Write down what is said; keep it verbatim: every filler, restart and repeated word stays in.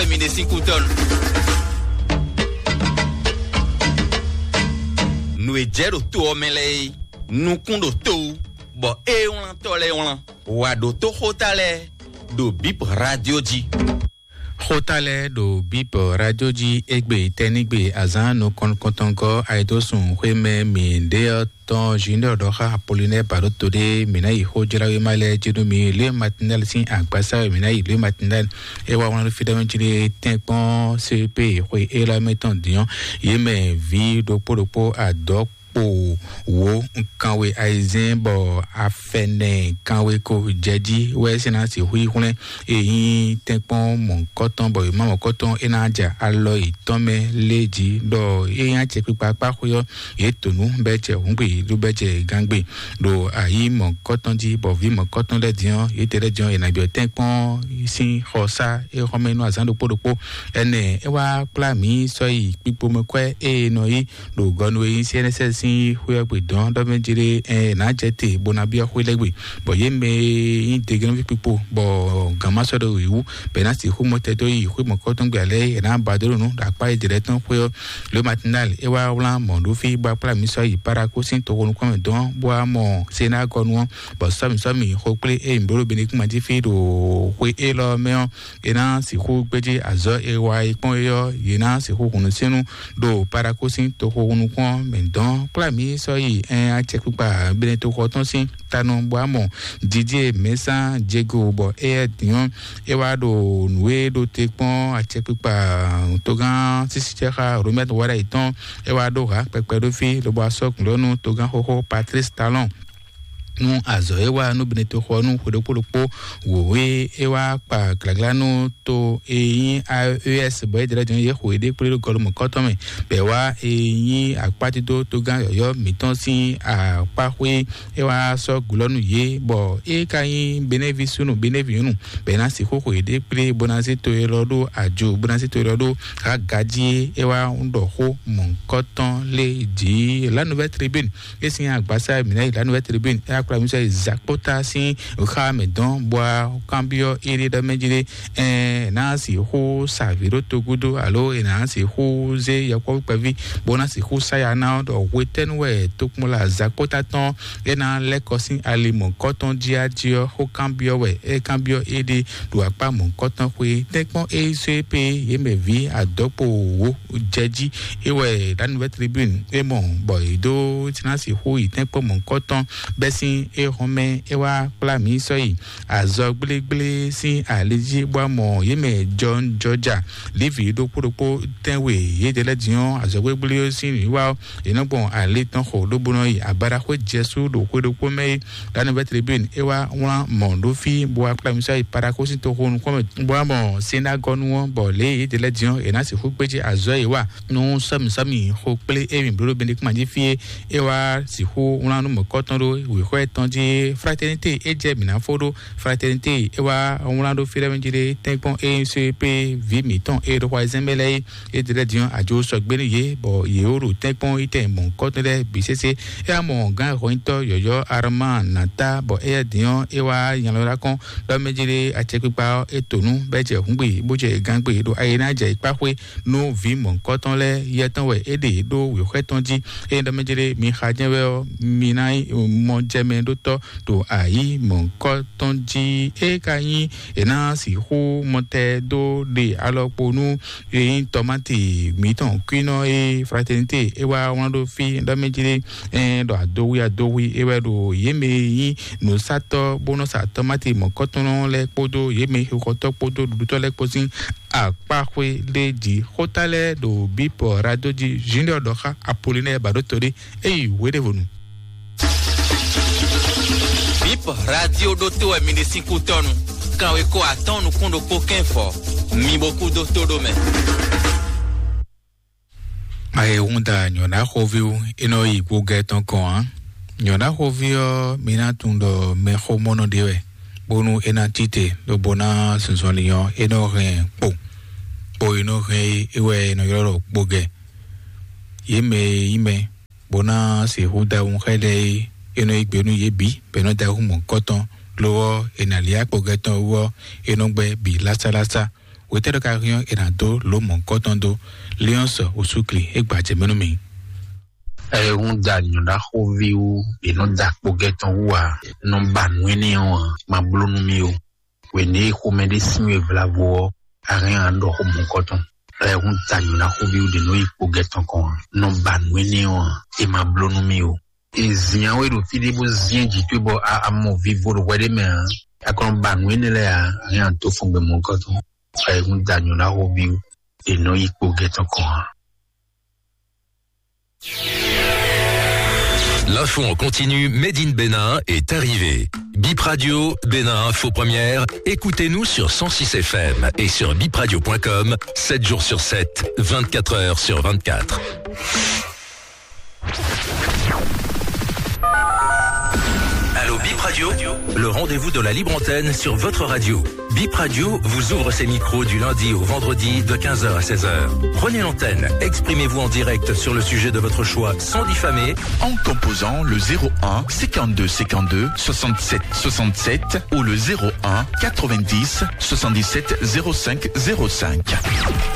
Mi ɖe sín kútɔ́nu. Nǔ e jɛ ɖo to ɔ́ mɛ lɛ́ɛ é, nukún ɖo to wú, bɔ é wlán tɔ́ lɛ́ɛ wlán. Wǎ ɖo tó xóta lɛ́ɛ ɖo Bip Radio jí. Xóta lɛ́ɛ ɖo Bip Radio jí égbé tɛ́nígbe azǎn nukɔn kɔntɔngɔ́ ayédósùn xwémɛ mǐ ɖé ɔ́ tɔn Junior ɖɔ xá Apollinaire Baɖoto ɖé, mǐ ná yi xó jlá wéma lɛ́ɛ jí nú mi. Lé Matinal sín agbasa wɛ mǐ ná yi. Lé Matinal é wá wlán fí ɖɔ mɛ jí lé tɛ́nkpɔ́n C P xwe élɔ́ mɛ tɔn dǐn ɔ́, yě mɛ vǐ ɖokpó ɖokpó adɔ̌ kpo wǒ kanwe ayizɛ́n bɔ afɛnɛ kanwe ko jɛ jí wɛ é sɛ́ ná sixú yi hwlɛ́n e nyí tɛ́nkpɔ́n mɔ̌hunkɔtɔn bɔ è má mɔ̌hunkɔtɔn é ná ja alɔ yětɔn mɛ lé jí ɖɔ é nyí acɛkpikpa kpá xwé ɔ́, yě to nǔ bɛ́ jɛ hǔngbe ɖó bɛ́ jɛ gángbe ɖo ayǐ mɔ̌hunkɔtɔn jí, bɔ vǐ mɔ̌hunkɔtɔn lɛ́ɛ din ɔ́, yětɛn lɛ́ɛ din ɔ́, è nǎ byɔ́ tɛ́nkpɔ́n sín xɔsá é xɔmɛ nú azǎn ɖokpó ɖokpó. Ɛnɛ é wá kplá mǐ sɔ́ yi kpikpomɛkwɛ́ e è nɔ yí ɖo gɔnu e nyí C N S S sín xwé ɔ́ gbe dɔn ɖɔ mɛ jlé ɛ nǎ jɛ te bó ná byɔ́ xwé lɛ́ɛ gbe, bɔ yě mɛ e nyí degenɔví kpikpo bɔ gǎn ma sɔ́ ɖo yě wú bɔ è nǎ sixú mɔ tɛ dó yi xwé mɔ̌kɔ́tɔn gbe alɛ é nǎ ba dó ɖo nǔ ɖo akpá e jɛ lɛ́ɛ tɔn xwé ɔ́. Le Matinal é wá wlán mɔ̌ ɖó fí bó wá kplá mǐ sɔ́ yi Paraku sín toxo nukúnmɛ dɔn bó wá mɔ Senagɔnu ɔ́, bɔ sɔ́mǐ sɔ́mǐ xo kplé e mǐ bló ɖo Benikúma jí fí ɖo xwé élɔ́ mɛ ɔ́, é ná sixú gbéjé azɔ̌ e wa e kpɔ́n é ɔ́, yě ná sixú hun nǔsínnú ɖo Paraku sín toxo nukún ɔ́ mɛ dɔn. Kplá mǐ sɔ́ yi ɛn acɛkpikpa Benetoxɔ tɔn sín tanɔ bɔ amɔ Didier Mɛsán Diego bɔ éyɛ́ din ɔ́, é wá ɖo nǔ e ɖo te kpɔ́n acɛkpikpa togán sísícɛ́xá Romɛ́t Wáɖayi tɔn, é wá ɖó hǎ kpɛkpɛ ɖó fí lobo asɔ́ gǔlɔ́nú togán xóxó Patrice Talon nú azɔ̌ e wá nú Benetoxɔ nú xwe ɖokpó ɖokpó wǒ e é wá kpa glǎglá nú to e nyí A E S bɔ é jlɛ́ din yě xo yěɖée kplé ɖo gɔlumɔ̌kɔ́tɔn mɛ, bɔ è wá e nyí akpátídó togán yɔ̌yɔ́ mǐtɔn sín akpáxwé é wá sɔ́ gǔlɔ́ nú yě, bɔ é ka nyí Benévi súnnu Benévi nyɔ̌nu, bɔ è ná sixú xo yěɖée kplé bó ná zé to élɔ́ ɖó ajo, bó ná zé to élɔ́ ɖó hǎ gají é wá ɖɔ xó mɔ̌hunkɔtɔn lé jǐ. La Nouvelle Tribune é sín agbasa mǐ ná yi La Nouvelle Tribune é akplá mǐ sɔ́ yi Zakpota sín xá mɛ dɔn bɔ kanbyɔ́ éɖé ɖɔ mɛ jí ɖé, ɛ ná sixú sa vǐ ɖó togúdo alo è nǎ sixú zé yɔkpɔ́vú kpɛví bó ná sixú sa ya ná ɔ́ ɖɔ hwetɛ́nu wɛ tokpɔnla Zakpota tɔn é ná lɛ́ kɔ sín ali mɔ̌kɔ́tɔn jí á jí ɔ́, xó kanbyɔ́ wɛ é kanbyɔ́ éɖé ɖo akpá mɔ̌kɔ́tɔn xwé tɛ́nkpɔ́n é sɔ́ é pé yě mɛ vǐ adɔkpo wǒ jɛ jí. É wɛ La Nouvelle Tribune é mɔ bɔ yě dó ná sixú yi tɛ́nkpɔ́n mɔ̌kɔ́tɔn bɛ́ sín é hɔn mɛ é wá kplá mǐ sɔ́ yi azɔ gblégblé sín ali jí bó wá mɔ yě mɛ jɔnjɔja Levi ɖokpó ɖokpó tɛ́nwe yědɛɛ lɛ́ɛ din ɔ́, azɔ gblégblé ɔ́ sín nǔwiwa ɔ́, yě nɔ gbɔn ali tɔn xo lobo nɔ yi abadaxwé jɛsú ɖo xwé ɖokpó mɛ é. La Nouvelle Tribune é wá wlán mɔ̌ ɖó fí bó wá kplá mǐ sɔ́ yi Paraku sín toxo nukún mɛ bó wá mɔ Senagɔnu ɔ́, bɔ lě e yědɛɛ lɛ́ɛ din ɔ́, è nǎ sixú gbéjé azɔ̌ e yě wa nú sɔ́mǐ sɔ́mǐ xo kplé e mǐ bló ɖo Benekuma jí fí é, é wá sixú wlán nú mɔ̌kɔ́tɔn ɖó wěxɔ tɔn jí. Fraternité é jɛ mǐ ná fó ɖó. Fraternité é wá wlán ɖó fí lɛ́ɛ mɛ jí ɖé tɛ́nkpɔ́n é nyí só é pé vǐ mǐtɔn e ɖo xwayizɛ́n mɛ lɛ́ɛ é. É ɖi lɛ́ɛ din ɔ́, ajo sɔgbe nú yě, bɔ yě wó ɖo tɛ́nkpɔ́n yi tɛn mɔ̌hunkɔtɔn lɛ́ɛ bǐ sésé. É wá mɔ gǎn hɔnyitɔ́ yɔ̌yɔ́ Armán Nata, bɔ éyɛ́ din ɔ́, é wá nya lɔ ɖó akɔ́n ɖɔ mɛ jí ɖé acɛkpikpa ɔ́, é to nú bɔ é jɛ hǔngbe, bó jɛ gangbe ɖo ayi ná jɛ yi kpá xwé nú vǐ mɔ̌hunkɔtɔn lɛ́ɛ. Yɛ tɔn wɛ é ɖe ɖó wěxwɛ́ tɔn jí. Ényí ɖɔ mɛ jí ɖé mi xa jɛ́n wɛ ɔ́, mi ná nyí mɔjɛmɛɖótɔ́ ɖo ayǐ mɔ̌hunkɔtɔn jí. É ka nyí è nǎ sixú mɔtɛn dó ɖe alɔkpo nú e nyí tɔmati mǐtɔn kwínɔ e Fraternité é wá wlán ɖó fí ɖɔ mɛ jí ɖé, ɛ ɖɔ adohwi adohwi é wɛ ɖo yě mɛ e nyí nǔsatɔ́ bó nɔ sa tɔmati mɔ̌kɔtɔn lɛ́ɛ kpódó yě mɛ xixɔtɔ́ kpódó ɖuɖutɔ́ lɛ́ɛ kpó sín akpáxwé ɖé jí. Xóta lɛ́ɛ ɖo bípɔ radio jí. Junior ɖɔ xá Apollinaire Baɖoto ɖé, é yi wěɖévonu. Bip radio ɖótó wɛ mi ɖe sín kútɔ́nu. Kanweko atɔ́ɔ́n nukún ɖokpó kɛ́nfɔ. Mi bo kú dó tó ɖó mɛ. Ayɛhunda nyɔ̌ɖaxóví wú, é nɔ yi gbogɛ tɔn kɔn ǎ. Nyɔ̌ɖaxóví ɔ́, mi ná tunwun ɖɔ mɛxómɔnɔ ɖé wɛ, bónú é ná cí te, lobo ná zunzɔnlin ɔ́, é nɔ hɛn kpo. Kpo e nɔ hɛn é, é wɛ è nɔ ylɔ́ ɖɔ gbogɛ. Yě mɛ e nyí mɛ bó ná sixú da wunxɛ lɛ́ɛ é, é nɔ yí gbe nú yě bǐ, bɔ é nɔ da wǔ mɔ̌hunkɔtɔn. Lo ɔ́, è nǎ lyá kpɔgɛtɔn wú ɔ́, é nɔ gbɛ́ bǐ lásálása. Wětɛ́ ɖɔ ka hɛn ɔ́, è nǎ dó lǒ mɔ̌hunkɔtɔn dó. Liɔ́nsɔ osúkli é gbajɛ mɛ nú mi. Ɛ ń da nyɔ̌ɖaxóví wú, è nɔ da kpogɛ́ tɔn wú ǎ, nɔ ba nǔ énɛ́ ɔ́ ǎ, ma bló nú mì ó. Wěné e xomɛ ɖé sín we vlavo ɔ́, a hɛn a ɖɔ xó mɔ̌hunkɔtɔn. Ɛ ń da nyɔ̌ɖaxóví wú ɖě nɔ yi kpogɛ́ tɔn kɔn ǎ, nɔ ba nǔ énɛ́ ɔ́ ǎ, è ma bló nú mì ó. È zǐn we ɖo fí ɖé bó zín jǐ towe bɔ a a mɔ vivo ɖo hwɛ ɖé mɛ ǎ, a kɔn ba nǔ énɛ́ lɛ́ɛ ǎ, a hɛn a dó fɔn gbɛ mɔ̌hunkɔtɔn. Ɛ ń da nyɔ̌ɖaxóví wú, è nɔ yi kpogɛ́ tɔn kɔn ǎ. L'info en continu Made in Bénin est arrivé. Bip Radio, Bénin Info Première, écoutez-nous sur cent six F M et sur bipradio point com, sept jours sur sept, vingt-quatre heures sur vingt-quatre. Allô Bip Radio, le rendez-vous de la libre antenne sur votre radio. Bip Radio vous ouvre ses micros du lundi au vendredi de quinze heures à seize heures. Prenez l'antenne, exprimez-vous en direct sur le sujet de votre choix sans diffamer. En composant le zéro un cinquante-deux cinquante-deux soixante-sept soixante-sept ou le zéro un quatre-vingt-dix soixante-dix-sept zéro cinq zéro cinq.